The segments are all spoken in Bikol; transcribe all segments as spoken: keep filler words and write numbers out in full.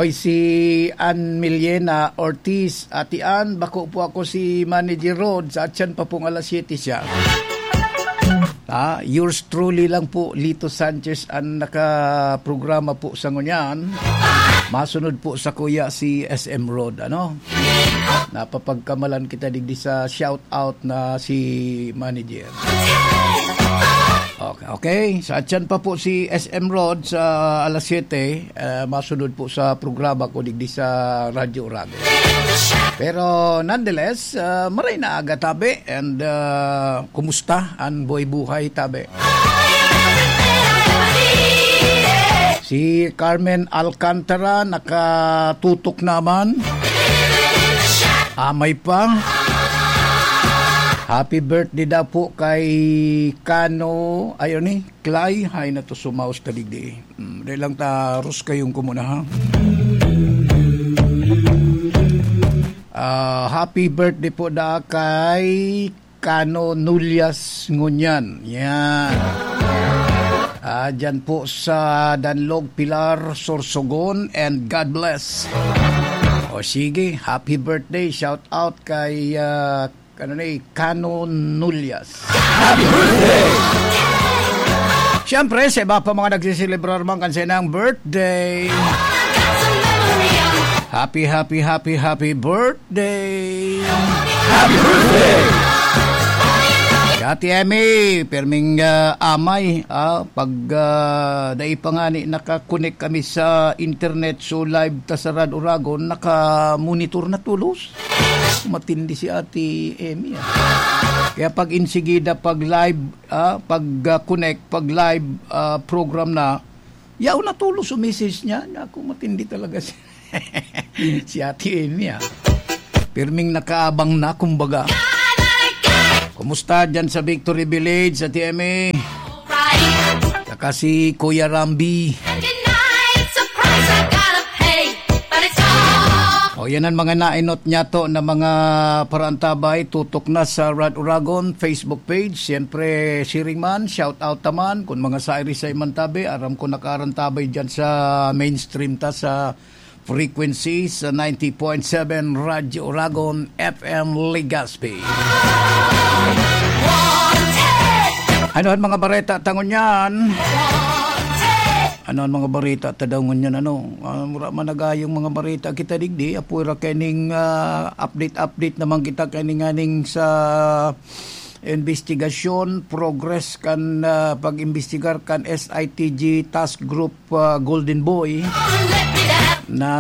Oy, si Ann Miliena Ortiz, "Ate Ann, bako po ako si Manager Rod, sa atyan pa pong alas siyete siya." Ah, yours truly lang po, Lito Sanchez, ang nakaprograma po sa ngunyan. Masunod po sa kuya si S M Rod, ano? Napapagkamalan kita digdi sa shout out na si Manager. Okay, okay. Sa atyan pa po si S M Rod sa alas siyete, eh, masunod po sa programa ko digdi sa Radyo Uragon. Pero nonetheless, ah, maray na aga, tabi. And, ah, kumusta ang buhay-buhay, tabi? Si Carmen Alcantara nakatutok naman. Amay pa. Happy birthday daw po kay Kano, ayun eh, Clay. Hay na to, sumaos ta digdi. Mm, dahil lang ta, Ros, kayong kumuna, ha? Ah, happy birthday po da kay Kano Nulias ngunyan. Yan. Ah, dyan po sa Danlog, Pilar, Sorsogon, and God bless. O sige, happy birthday. Shout out kay, ah, ano ni, Kano Nulias. Happy birthday! Siyempre, sa iba pa mga nagsiselebrar man kan sainang birthday. Happy, happy, happy, happy birthday! Happy birthday! Si Ate Emmy, perming, ah, amay, ah, pag, ah, dai pa ngani nakakonek kami sa internet, so live ta sa Rad Uragon, naka-monitor na tulos. Matindi si Ate Emmy, ah. Kaya pag insigida, pag live, ah, pag, ah, connect, pag live, ah, program na, yaw na tulos o message niya. Naku, matindi talaga si, si Ate Emmy, ah. Pirming nakaabang na, kumbaga. Kumusta dyan sa Victory Village, Ate Emmy? Saka si Kuya Rambi. O, yan ang mga nainot niya to na mga parantabay, tutok na sa Rad Uragon Facebook page. Siyempre, siring man, shout out naman. Kung mga sairi sa iman tabi, aram ko nakaarantabay dyan sa mainstream ta sa frequency sa ninety point seven Radyo Uragon F M Legazpi. Ano ang mga bareta ta ngunyan? Ano ang mga bareta ta daw ngunyan, ano? Ah, mura man nagayong mga bareta kita digdi. Apoy ra kaining, ah, update-update naman kita kaining aning sa investigasyon, progress kan, ah, pag-imbestigar kan S I T G Task Group, ah, Golden Boy na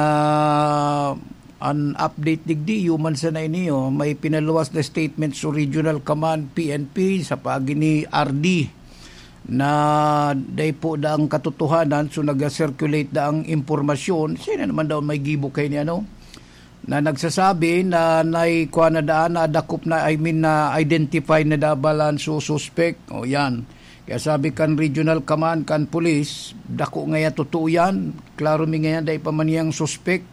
an update digdi, human sana ini, oh, may pinaluwas na statement sa Regional Command, P N P, sa paagi ni R D na dai po daang katotohanan, so nag-circulate daang impormasyon. Sino naman daw may gibo kay ni ano? Na nagsasabi na naikwa na daan, nadakop na, I mean, na-identify na dabalan so suspect. O yan. Kaya sabi kan Regional Command, kan Police, dako ngaya totoo yan. Klaro mi ngaya, dai pa man niyang suspect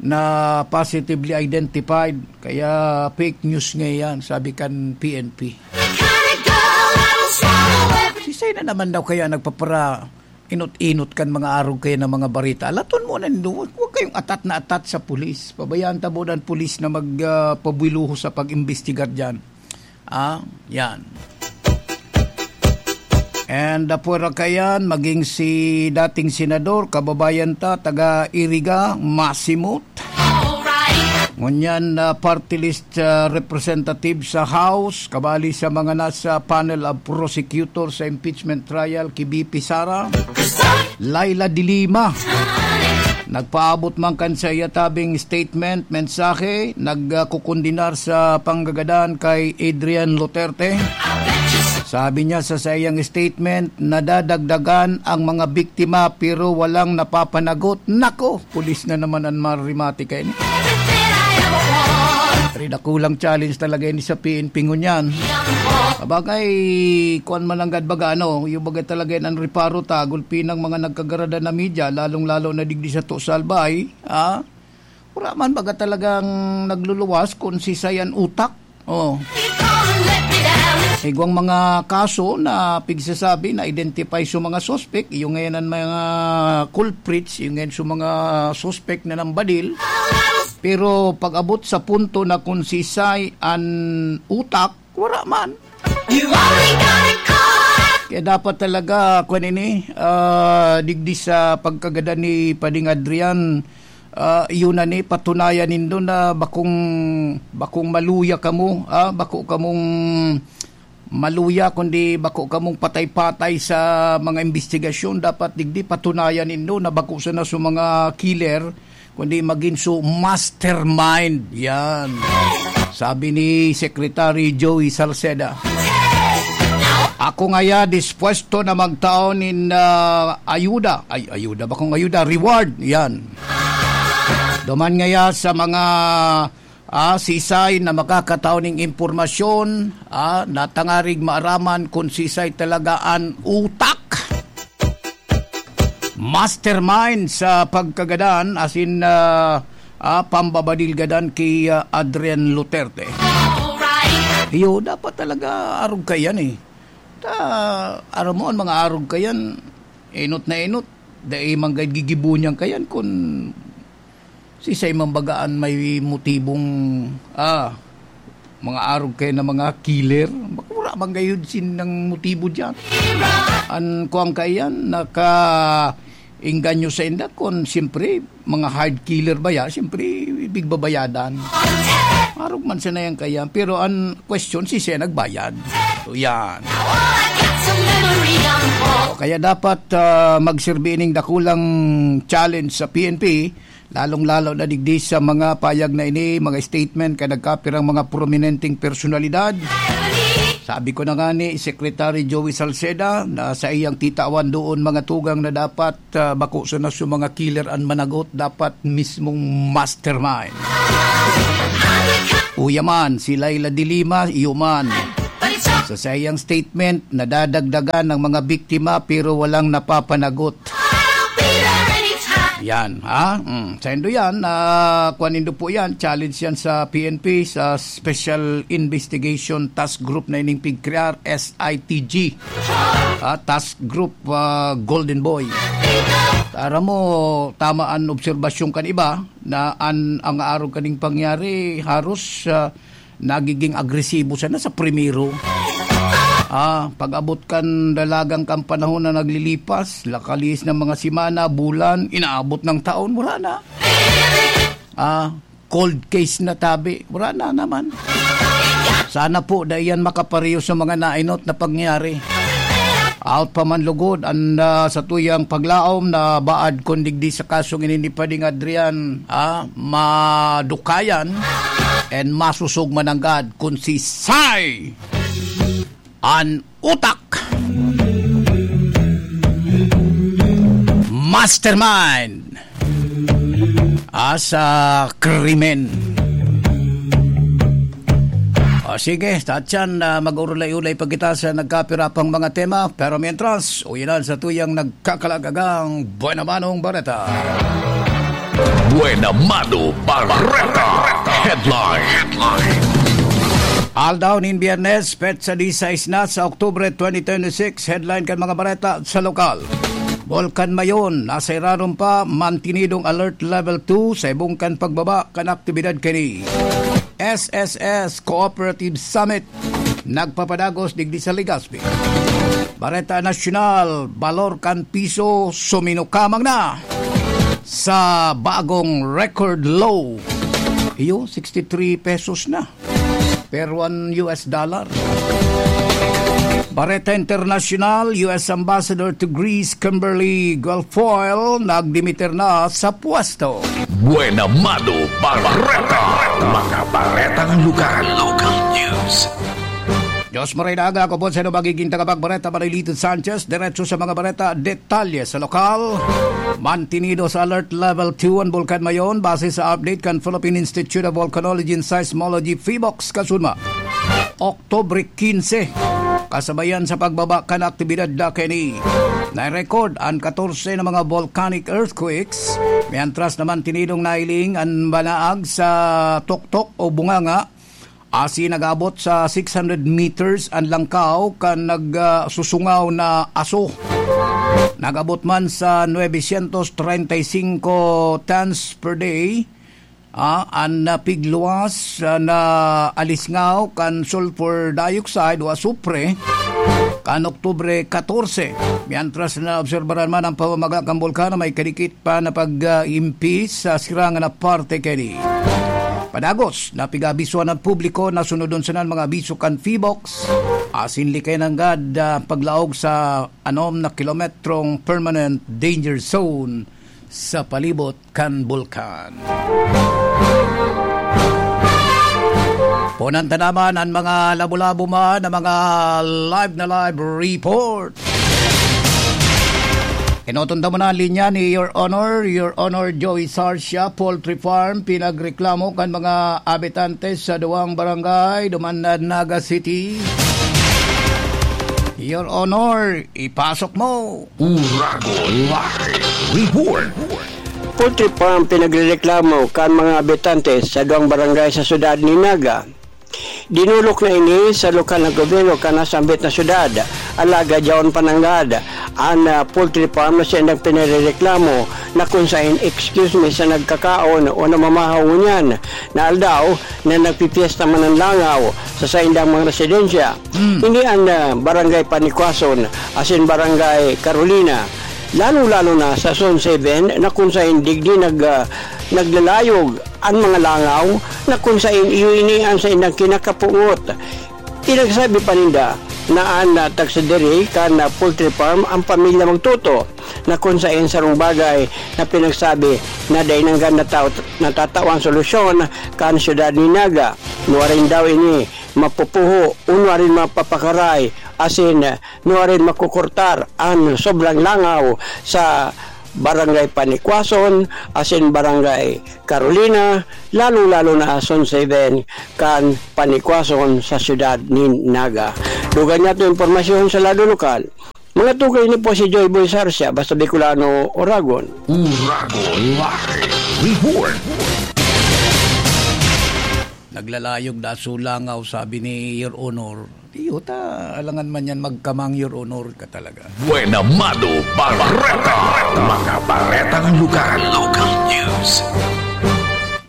na positively identified. Kaya fake news nga yan, sabi kan P N P. Sisay na naman daw kaya nagpapara inot-inot kan mga arog kaya ng mga barita. Alaton mo na nindo, huwag, huwag kayong atat na atat sa pulis. Pabayaan ta muna ang pulis na mag, ah, pabuiluho sa pag-imbestigar dyan. Ah, yan. And, ah, pwera kayan, maging si dating senador, kababayan ta, taga Iriga, Masimot. Ngunyan na party list, ah, representative sa House, kabali sa mga nasa panel of prosecutor sa impeachment trial ki V P Sara, Leila de Lima. Nagpaabot man kan sa iya tabing statement, mensahe, nagkukondenar sa panggagadan kay Adrian Duterte. Sabi niya sa saiyang statement, nadadagdagan ang mga biktima pero walang napapanagot. Nako, pulis na naman ang marimati kaini. Pero dakulang challenge talaga ini sa P N P ngunyan. Sabagay, kuwan man nanggad baga, ano, yung baga talaga yan ang reparo ta, gulpi ng mga nagkagarada na media, lalong-lalo na digdi sa to sa Albay, ha? Wala man baga talagang nagluluwas kung si Sayan Utak. Oh. Igwang mga kaso na pigsasabi na identify sa mga suspect, yung ngayon ang mga culprits, yung ngayon sa mga suspect na nambadil. Pero pag-abot sa punto na kung sisay an utak, wala man. You only got it caught. Kaya dapat talaga, kwan ini, ah, digdi sa pagkagadan ni Pading Adrian, ah, yun na ni, patunayan nindo na bakong, bakong maluya kamo, ah, bako kamong maluya, kundi bako kamong patay-patay sa mga imbestigasyon. Dapat digdi patunayan nindo na bako sana sa mga killer, kundi magin su mastermind. Yan. Sabi ni Secretary Joey Salceda, "Ako ngaya dispuesto na magtao nin, ah, ayuda." Ay, ayuda. Bakong ayuda? Reward. Yan. Duman ngaya sa mga, ah, sisay na makakatao ning impormasyon, ah, natangarig maaraman kung sisay talaga an utak, mastermind sa pagkagadan, as in, ah, ah, pambabadil gadan ki, ah, Adrian Luterte. Iyo, dapat talaga arog kayan eh. Ta, aram mo, an mga arog kayan, enot na enot, dai man gad gigibo niyan kayan kun sisay man baga an may motibong, ah, mga arog kayan na mga killer. Baka wala man gayod sinang motibo diyan. An kuwang kaiyan, naka-engganyo sa inda kun siyempre, mga hard killer ba ya? Siyempre, bigbabayadan. Arog man sana yan kaiyan. Pero an question, sisay nagbayad? So, yan. O kaya dapat, ah, magserbi ining dakulang challenge sa P N P, lalong-lalo na digdi sa mga payag na ini, mga statement kay nagkapirang mga prominenteng personalidad. Sabi ko na nga ni Secretary Joey Salceda na sa iyang titawan doon mga tugang na dapat, ah, bako sana sa mga killer an managot, dapat mismong mastermind. Uya man, si Laila de Lima, iyo man. Sa saiyang statement, nadadagdagan ang mga biktima pero walang napapanagot. Yan, ha? Mm. Sa indo yan, ah, kuwan nindo po yan, challenge yan sa P N P, sa Special Investigation Task Group na ining pigkrear, S I T G. Ah, Task Group, ah, Golden Boy. Aram mo, tama an obserbasyon kan iba na an, ang arog kaning pangyari, haros, ah, nagiging agresibo sana sa primero. Ah, pag-abot kan dalagan kan panahon na naglilipas, lakalihis ng mga semana, bulan, inaabot ng taon, wala na. Ah, cold case na tabi, wala na naman. Sana po, dai yan makapareho sa mga nainot na pangyayari. Out pa man lugod an, ah, satuyang paglaom na baad kun digdi sa kasong ini ni Pading Adrian, ah, madukayan and masusog mananggad kun sisay an utak, mastermind, ah, sa krimen. O sige, Tatyan, ah, mag-urulay-ulay pa kita sa nagkapira pang mga tema. Pero mientras, uyanan sa tuyang nagkakalagagang Buena Manong Bareta. Buena Mano Bareta. Headline. Aldaw nin Biyernes, petsa disais na sa Oktubre twenty twenty-six, headline kan mga bareta sa lokal. Volcan Mayon, nasa irarom pa, mantinidong alert level two sa ibong kan pagbaba kan aktibidad kini. S S S Cooperative Summit, nagpapadagos digdi sa Legazpi. Bareta Nasyonal, balor kan piso suminukamang na sa bagong record low. Iyo, sixty-three pesos na per one U S dollar. Bareta Internasyonal, U S Ambassador to Greece, Kimberly Guilfoyle, nagdimiter na sa pwesto. Buena Mano Bareta. Mga baretang lugar. Local news. Diyos maray na aga, ako po sa magiging tagapagbareta, Marilito Sanchez. Diretso sa mga bareta, detalye sa lokal. Mantinido sa Alert Level two an Bulkan Mayon, base sa update kan Philippine Institute of Volcanology and Seismology, PHIVOLCS, kasunma. Oktubre quince, kasabayan sa pagbaba kan aktibidad dakeni. Na-record an katorse na mga volcanic earthquakes, mientras na mantinidong nahiling an banaag sa tuktok o bunganga Asin nag-abot sa six hundred meters an langkaw kan nag, ah, susungaw na aso. Nag-abot man sa nuebe sientos treinta y cinco tons per day, ah, an, ah, pigluwas, ah, na alisngaw kan sulfur dioxide o asupre kan Oktubre katorse. Mientras na obserbaran man ang pamamaga kan bulkan na may kadikit pa na pag-, ah, impi sa sirangan na parte kaini. Padagos, napigabisuan ang publiko na sunodon sana an mga abiso kan PHIVOLCS, asin likay nanggad, ah, paglaog sa anom na kilometrong permanent danger zone sa palibot kan bulkan. Punan ta naman an mga labo-labo man na mga live na live report. Inoton ta muna an linya ni Your Honor, Your Honor Joey Sarsia, poultry farm, pinagreklamo kan mga habitante sa duwang barangay, duman na Naga City. Your Honor, ipasok mo. Uragon Live Report. Poultry farm pinagrereklamo kan mga habitante sa duwang barangay sa siyudad ni Naga. Dinulok na ini sa lokal na gobyerno kan nasambit na syudad, alagad yaon pa nanggad an, ah, poultry farm na saindang pinarereklamo na kun saen, excuse me, sa nagkakaon o namamahaw ngunyan na aldaw na nagpipiesta man an langaw sa saindang mga residensya. Mm. Ini an, ah, Barangay Panikwason asin Barangay Carolina, lalong-lalo na sa Zone seven na kun saen digdi nag, ah, naglalayog an mga langaw na kun saen iyo ini an saindang kinakapungot. Pinagsabi pa ninda na an, ah, tagsadiri kan, ah, poultry farm an pamilya Magtuto, na kun saen sarong bagay na pinagsabi na dai nanggad nataw-, natatawan solusyon kan siyudad ni Naga. Nuarin daw ini mapupuho o nuarin mapapakaray asin nuarin makukurtar an sobrang langaw sa Barangay Panikwason asin Barangay Carolina, lalong-lalo na Zone seven kan Panikwason sa siyudad nin Naga. Dugang niya itong impormasyon sa lado lokal. Mga tukoy ni po si Joy Boy Sarsia, basta Bicolano, Oragon. Uragon Live Report. Naglalayog na sulangaw, sabi ni Your Honor. Iyo ta, alangan man yan magkamang, Your Honor ka talaga. Buena Mado Bareta. Mga baretang lokal. Local news.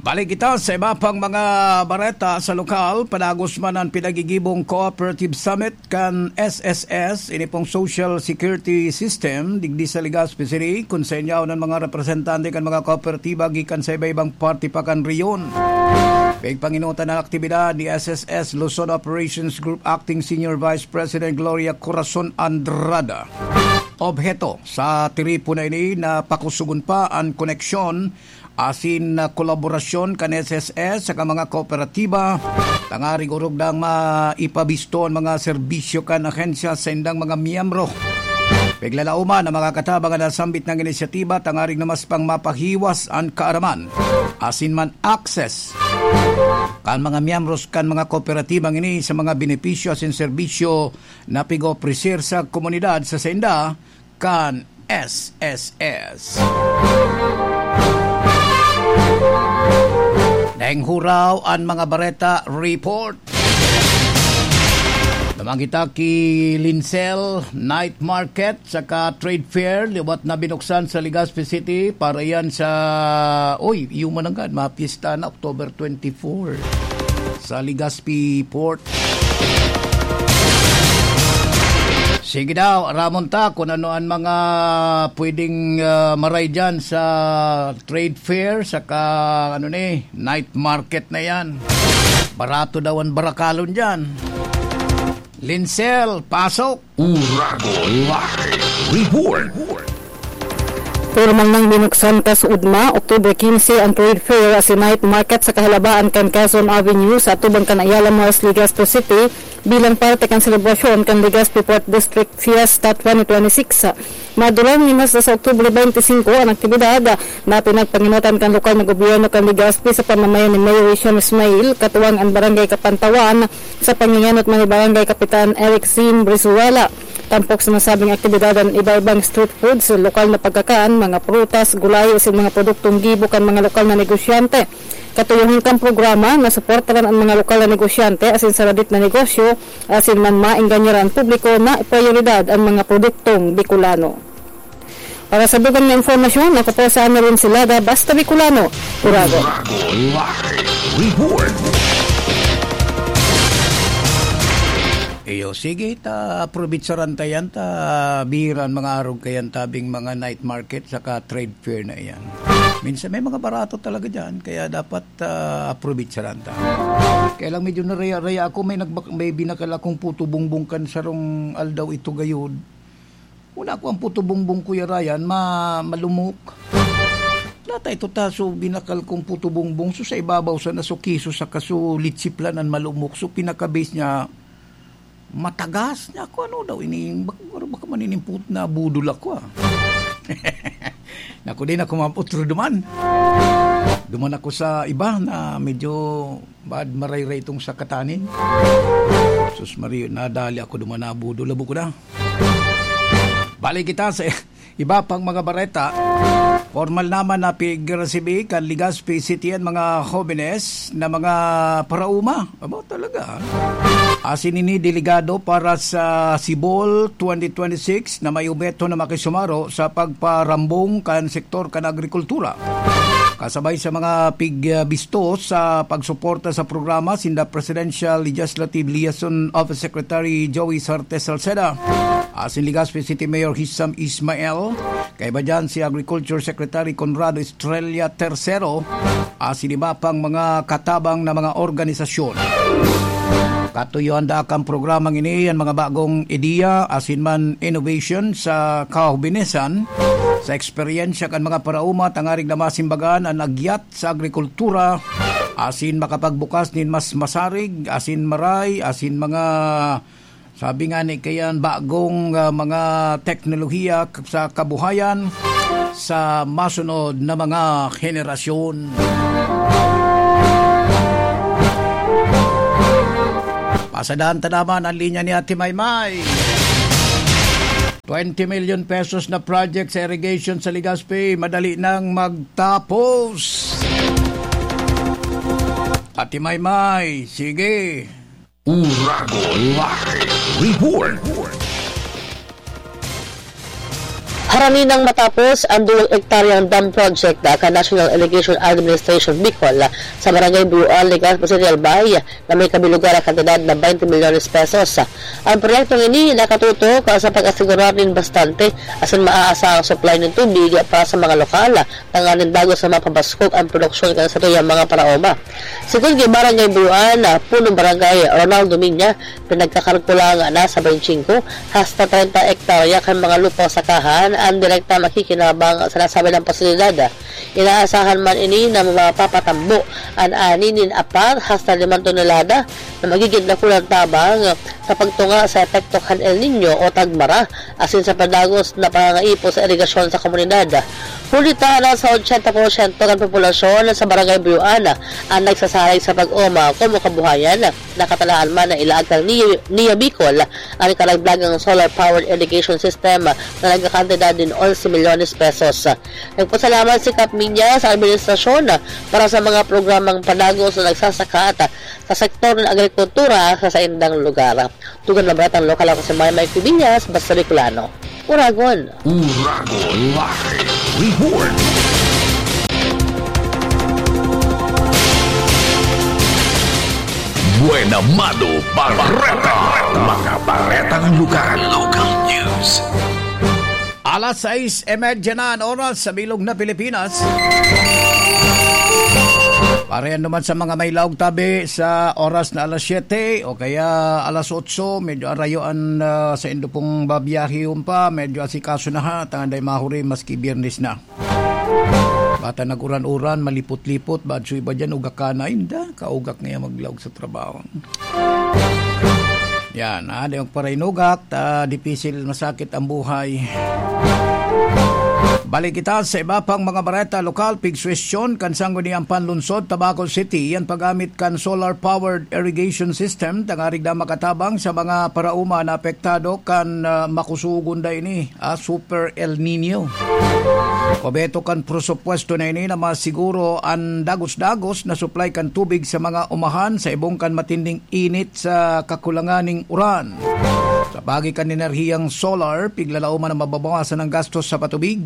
Balik kita sa iba pang mga bareta sa lokal. Padagos man ang pinagigibong Cooperative Summit kan S S S, ini pong Social Security System, digdi sa Legazpi City, kun saen yaon an mga representante kan mga kooperatiba gikan sa iba-ibang parte pa kan rehiyon. Pigpanginutan an aktibidad ni S S S Luzon Operations Group Acting Senior Vice President Gloria Corazon Andrada. Obheto sa tiripon na ini na pakusugon pa an koneksyon asin, ah, kolaborasyon kan S S S saka mga kooperatiba, tangarig orog dang maipabisto an mga serbisyo kan ahensya sa indang mga miyembro. Piglalauman na makakatabang an nasambit na inisyatiba tangarig na mas pang mapahiwas an kaaraman asin man access kan mga miyembros kan mga kooperatibang ini sa mga benepisyo asin serbisyo na pig-opreser sa komunidad sa sainda kan S S S. Daing huraw an mga bareta report. Naman kita ki Lincel, night market saka trade fair, liwat na binuksan sa Legazpi City para yan sa, oy, iyo man nanggad, mga piyesta na, October twenty-four sa Legazpi Port. Sige daw, aramon ta kung ano ang mga pwedeng, ah, maray dyan sa trade fair, saka ano ni, night market na yan. Barato daw ang barakalon dyan. Lincel, pasok! Uragon Live Report. Pormal nang binuksan kasuodma, October quince, ang trade fair asin night market sa kahalabaan kan Quezon Avenue sa atubang kan Ayala Malls, Legazpi City, bilang parte kan selebrasyon kan Legazpi Port District Fiesta twenty twenty-six. Madurog nin hasta sa October twenty-five ang aktibidad na pinagpanginutan kan lokal na gobyerno kan Legazpi sa pamamayan ni Mayor Rishon Ismail, katuwang an Barangay Kapantawan, sa pangingenot man ni Barangay Kapitan Eric Zin Brizuela. Tampok sa nasabing aktibidad an iba-ibang street foods, lokal na pagkakan, mga prutas, gulay, asin mga produktong gibo kan mga lokal na negosyante. Katuyohon kan programa na suportaran an mga lokal na negosyante asin saradit na negosyo, asin man maengganyaran an publiko na prioridad an mga produktong Bicolano. Para sa dugang na impormasyon, ako po si Annalyn Silada, Basta Bicolano, Uragon. Uragon Live Report. Iyo, sige, ta aprobitsaran ta yan, ta biran mga arog kayan tabing mga night market saka trade fair na iyan. Minsan may mga barato talaga dyan, kaya dapat, ah, aprobitsaran ta. Kaya lang medyo naraya-raya ako, may nagbak-, may binakal akong puto bongbong kan sarong aldaw ito gayod. Una ko ang puto bongbong, Kuya Ryan, ma-, malumok. Data ito ta, so binakal kong puto bongbong, so sa ibabaw sa nasukiso sa kaso litsiplan ang malumok, so pinaka-base niya, matagas niya. Ako, ano daw, ini, bak-, baka man inimput na budol ako, ah. Naku, di na ako maapot duman. Duman ako sa iba na medyo bad marayray itong sa katanin. Sus Maria, nadali ako duman na budol. Labo ko na. Balik kita sa iba pang mga bareta. Formal naman na pig-resibi kan Legazpi City an mga hobenes na mga paraoma. Aba, talaga, ha? Asin ini delegado para sa Sibol twenty twenty-six na may obheto na makisumaro sa pagparambong kan sektor kan agrikultura. Kasabay sa mga pig-, ah, bisto sa pagsuporta sa programa, sinda Presidential Legislative Liaison Office Secretary Joey Sarte Salceda, asin Legazpi City Mayor Hisham Ismail, kaiba dyan si Agriculture Secretary Conrado Estrella Tercero, asin iba pang mga katabang na mga organisasyon. Katuyoan da kan programang ini an mga bagong ideya asin man innovation sa kahobinesan, sa eksperyensya kan mga paraoma tangarig na masimbagan an agyat sa agrikultura, asin makapagbukas nin mas masarig, asin maray, asin mga, sabi nga ni kayan, bagong, ah, mga teknolohiya k-, sa kabuhayan sa masunod na mga henerasyon. Pasadahan ta naman ang linya ni Ate Maymay. Twenty million pesos na project sa irrigation sa Legazpi, madali nang magtapos. Ate Maymay, sige. Uragon Live Report. Harani nang matapos ang duwang ektaryang dam project na kan National Irrigation Administration Bicol sa Barangay Buyuan, Legazpi City, Albay, na may kabilugan na kantidad na twenty milyones pesos. Ang proyektong ini nakatutok sa pag-asigurar nin bastante asin maaasahang supply nin tubig para sa mga lokal, tanganing dagos na mapabaskog ang produksyon kan satuyang mga paraoma. Sigon ki Barangay Buyuan, Punong Barangay Ronaldo Minya, pinagkakalkulang nasa twenty-five hasta treinta ektarya kan mga lupang sakahan ang direkta makikinabang sa nasabing pasilidad. Inaasahan man ini na mapapatambo an ani nin apat hasta limang tonelada na magigin dakulang tabang sa pagtunga sa epekto kan El Niño o tagmara, asin sa padagos na pangangaipon sa irigasyon sa komunidad. Huli ta, nasa ochenta porsyento kan populasyon sa Barangay Buyuan ang nagsasalig sa pag-oma komo kabuhayan. Nakatalaan man na ilaag kan Nia, Nia Bicol ang karagdagang solar-powered irrigation system na nagkakantidad nin onse milyones pesos. Nagpasalamat si Kap Minya sa administrasyon para sa mga programang padagos na nagsasakat sa sektor ng agrikultura sa saindang lugar. Dugang na baretang lokal, ako si Maymay Cubillas, Basta Bicolano. Uragon. Uragon Live Report. Buena Mano Bareta. Mga baretang lokal. Local news. Alas sais y media na an oras sa bilog na Pilipinas. Parehan naman sa mga may laog tabi sa oras na alas siyete o kaya alas otso, medyo arayo an, ah, saindo pong babiyahihon pa, medyo asikaso na ha, tanganing mahuri maski Biyernes na. Bata nag-uran-uran, malipot-lipot, badso iba dyan, ugak ka na, inda, kaugak ngayon maglaog sa trabaho. Yan, ah, di magparainugak, ta dipisil masakit ang buhay. Balik kita sa iba pang mga bareta lokal. Pigsuwestiyon kan Sangguniang Panlunsod, Tabaco City, an paggamit kan solar-powered irrigation system tangarig na makatabang sa mga paraoma na apektado kan, ah, makusugon da ini, ah, Super El Nino. Obheto kan presupuesto na ini na masiguro an dagos-dagos na supply kan tubig sa mga umahan sa ibong kan matinding init sa kakulangan ning uran. Sa pagi kan enerhiyang solar, piglalaoman na mababawasan ang gastos sa patubig,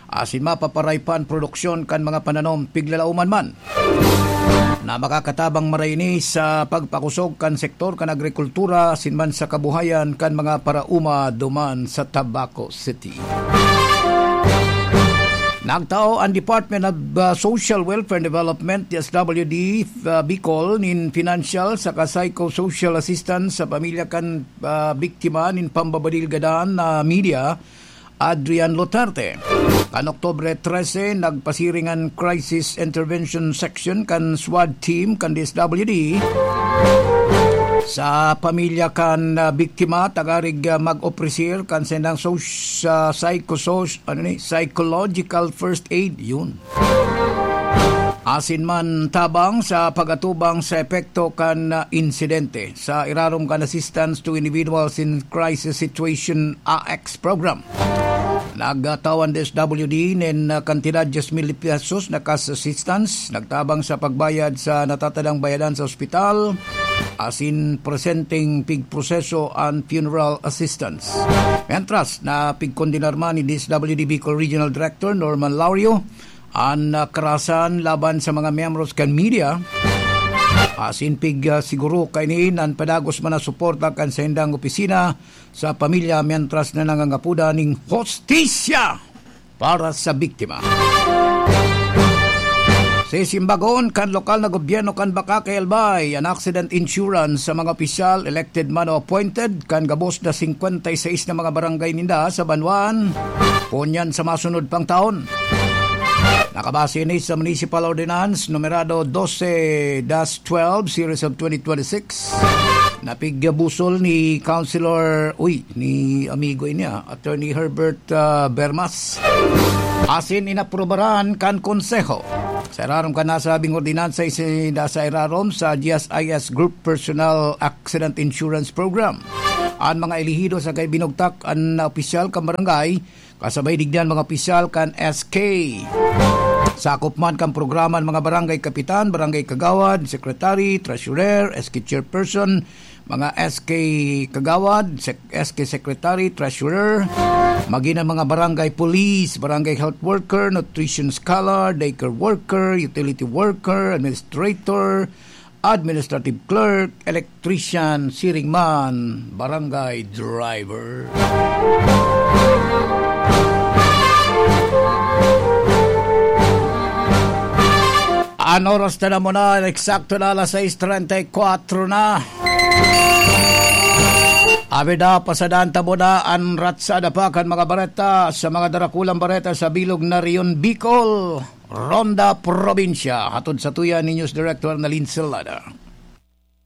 asin mapaparay pa an produksyon kan mga pananom, piglalaoman man na makakatabang maray ini sa pagpakusog kan sektor kan agrikultura asin man sa kabuhayan kan mga paraoma duman sa Tabaco City. Nagtao ang Department of, uh, Social Welfare and Development, D S W D, uh, Bicol, nin financial saka psychosocial assistance sa pamilya kan, uh, biktima nin pambabadil gadan na media, Adrian Luterte. Kan Oktubre trese, nagpasiring an Crisis Intervention Section kan SWAT team kan D S W D sa pamilya kan, ah, biktima, tangarig, ah, mag-opresir kan saindang sos-, ah, psychosos-, ano ni, psychological first aid, yun. Asin man tabang sa pag-atubang sa epekto kan, ah, insidente. Sa irarom kan Assistance to Individuals in Crisis Situation, A X program, nagtao an D S W D nin, ah, kantidad diyes mil pesos na cash assistance, nagtabang sa pagbayad sa natatadang bayadan sa ospital, asin presenteng pigproseso an funeral assistance. Mientras, napigkondenar man ni D S W D Bicol Regional Director Norman Laurio an, ah, karahasan laban sa mga miyembros kan media. Asin pig, ah, siguro kaini an padagos man na suporta kan saindang opisina sa pamilya, mientras na nangangapoda ning hustisya para sa biktima. Sisimbagon kan lokal na gobyerno kan Bacacay, Albay, an accident insurance sa mga opisyal, elected man o appointed, kan gabos na singkwenta y seis na mga barangay ninda sa banwaan, ngunyan sa masunod pang taon. Nakabase ini sa Municipal Ordinance numerado dose dash twelve, series of twenty twenty-six, na pigbusol ni Councilor, uy, ni amigo ini, ah, Attorney Herbert, ah, Bermas. Asin inaprubaran kan Konseho. Sa irarom kan nasabing ordinansa, isinda sa irarom sa G S I S Group Personal Accident Insurance Program an mga elehido saka ibinugtak an opisyal kan barangay, kasabay digdi an mga opisyal kan S K. Sakop man kan programa an mga barangay kapitan, barangay kagawad, secretary, treasurer, S K chairperson, mga S K kagawad, sec-, S K secretary, treasurer, magin ang mga barangay police, barangay health worker, nutrition scholar, daycare worker, utility worker, administrator, administrative clerk, electrician, siring man, barangay driver. An oras na naman na, eksakto na alas sais treinta y cuatro na. Abi na, pasadaan ta muna an ratsada pa kan mga bareta sa mga darakulang bareta sa bilog na Rehiyon Bicol, Ronda Probinsya. Hatod sa tuya ni News Director Nalin Celada.